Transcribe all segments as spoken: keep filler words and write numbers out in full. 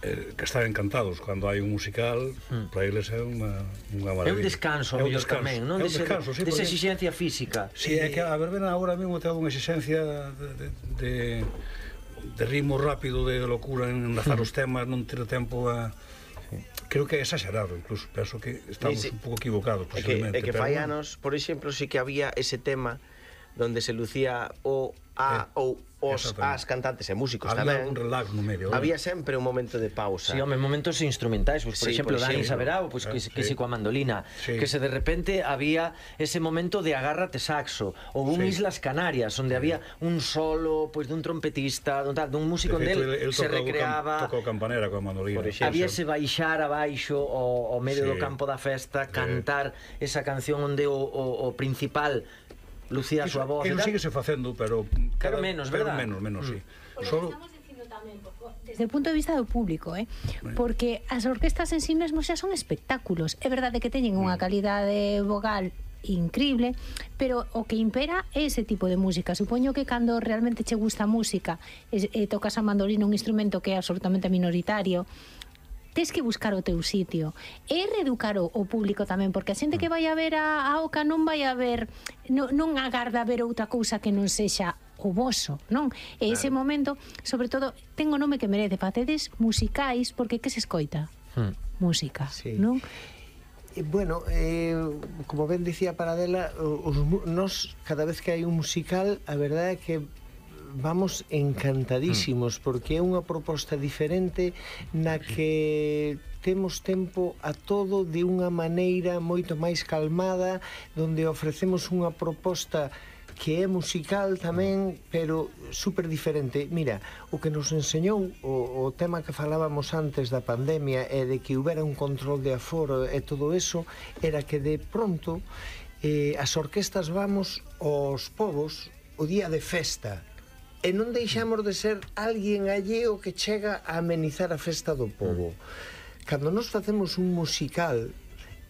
eh, que están encantados cando hai un musical, mm. para eles é unha, unha maravilla. É un descanso, é un descanso tamén, non? É un Dese, descanso, sí, desa porque... exigencia física. Sí, é que a verbena agora mesmo ten unha exigencia de, de, de, de ritmo rápido, de locura en enlazar os temas, non ter tempo a... Sí. Creo que é exagerado, incluso, penso que estamos sí, sí. un pouco equivocados, posiblemente. É que, é que fai anos, por exemplo, sí que había ese tema donde se lucía o a ou os as cantantes e músicos había tamén. Un relax no medio. Había sempre un momento de pausa. Sí, home, momentos instrumentais, pues, por sí, exemplo, por Dani Saberao, pues, eh, que, que sí. si coa mandolina, sí. que se de repente había ese momento de agárrate saxo, ou un sí. Islas Canarias, onde sí. había un solo, pues, dun trompetista, dun, tal, dun músico de del, el, el se recreaba, tocou campanera coa mandolina. Había ese baixar abaixo ao, ao medio sí. do campo da festa, sí. cantar esa canción onde o, o, o principal lucía a súa voz. Eso sigue se facendo, pero cada, menos, pero verdad? menos, menos, mm. sí. Solo desde o punto de vista do público, eh? Porque as orquestas en sí mesmos xa son espectáculos. É verdade que teñen unha calidade vogal increíble, pero o que impera é ese tipo de música. Supoño que cando realmente che gusta a música e, e tocas a mandolina, un instrumento que é absolutamente minoritario, tes que buscar o teu sitio e reeducar o, o público tamén, porque a xente que vai a ver a, a Oca non vai a ver, non, non agarda a ver outra cousa que non sexa o voso, non? E ese claro. momento, sobre todo, ten o nome que merece, facedes musicais, porque que se escoita? Hmm. Música, sí. non? E, bueno, eh, como ben dicía Paradela, os, nos, cada vez que hai un musical, a verdade é que vamos encantadísimos, porque é unha proposta diferente na que temos tempo a todo de unha maneira moito máis calmada, donde ofrecemos unha proposta que é musical tamén, pero super diferente. Mira, o que nos enseñou o, o tema que falábamos antes da pandemia e de que houbera un control de aforo e todo eso, era que de pronto eh, as orquestas vamos aos povos o día de festa, e non deixamos de ser alguén alleo que chega a amenizar a festa do povo. Cando nos facemos un musical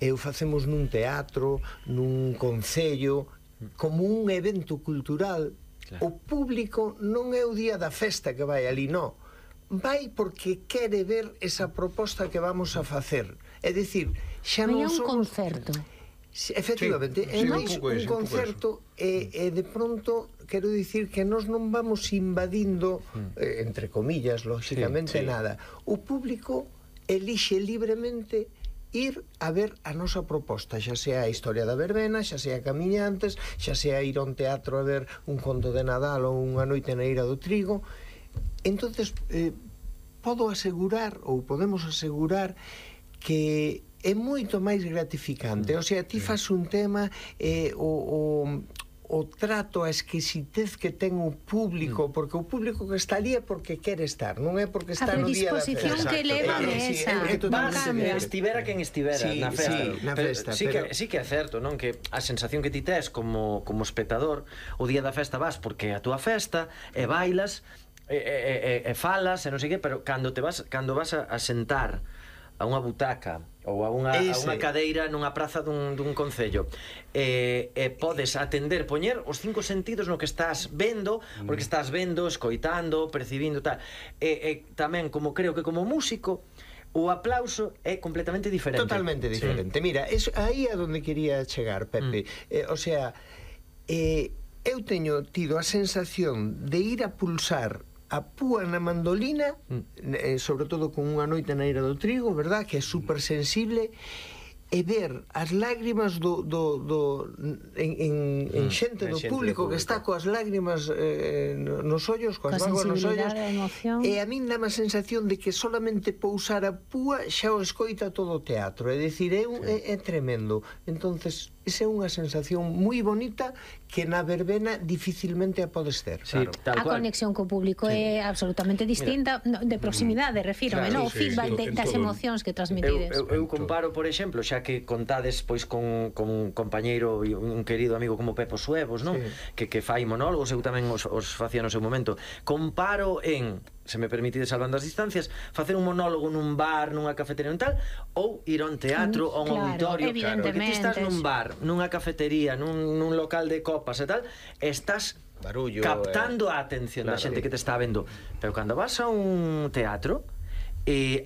e o facemos nun teatro, nun concello, como un evento cultural, claro. O público non é o día da festa que vai ali, non. Vai porque quere ver esa proposta que vamos a facer. É dicir, xa non somos... É un concerto. Efectivamente, sí, é máis sí, un, un concerto e, e de pronto quero dicir que nós non vamos invadindo eh, entre comillas, lógicamente sí, sí. nada. O público elixe libremente ir a ver a nosa proposta, xa sea a historia da verbena, xa sea camiñantes, xa sea ir a un teatro a ver un conto de Nadal ou unha noite na Eira do Trigo. Entonces eh, podo asegurar ou podemos asegurar que é moito máis gratificante. O sea, ti fas un tema eh, o, o, o trato, a exquisitez que ten o público, porque o público que está ali é porque quere estar, non é porque está no día da festa. A predisposición que leva esa. Estivera quen estivera sí, na festa. Sí, na festa, sí, pero... que, sí que é certo, non? Que a sensación que ti tes como, como espectador, o día da festa vas porque é a túa festa, e bailas, e, e, e, e falas, e non sei que, pero cando te vas, cando vas a, a sentar a unha butaca ou a unha, a unha cadeira nunha praza dun, dun concello e, e podes atender, poñer os cinco sentidos no que estás vendo, porque estás vendo, escoitando, percibindo tal. E, e tamén, como creo que como músico, o aplauso é completamente diferente. Totalmente diferente. Sí. Mira, es aí a donde quería chegar, Pepe. Mm. Eh, o sea, eh, eu teño tido a sensación de ir a pulsar a púa na mandolina, mm. eh, sobre todo con unha noite na Eira do Trigo, verdad, que é super sensible, e ver as lágrimas do, do, do en, en, en xente do público, público que está coas lágrimas eh, nos ollos, coas vagas nos ollos, e a min dá má sensación de que solamente pousar a púa xa o escoita todo o teatro, é dicir, é, un, sí. é, é tremendo. Entonces esa é unha sensación moi bonita que na verbena dificilmente a podes ter. Sí, claro. A conexión co público sí. é absolutamente distinta. Mira, de proximidade, refírome, claro, no? O sí, feedback sí, de, das emocións que transmitides. Eu, eu, eu comparo, por exemplo, xa que contades pois con, con un compañeiro e un querido amigo como Pepo Suevos, non? Sí. Que, que fai monólogos, eu tamén os, os facía no seu momento. Comparo en, se me permitide salvando as distancias, facer un monólogo nun bar, nunha cafetería, nun tal, ou ir a un teatro, ou a un claro, auditorio, porque ti estás nun bar, nunha cafetería, nun, nun local de copas e tal, estás barullo, captando eh, a atención claro, da xente que te está vendo. Pero cando vas a un teatro, eh,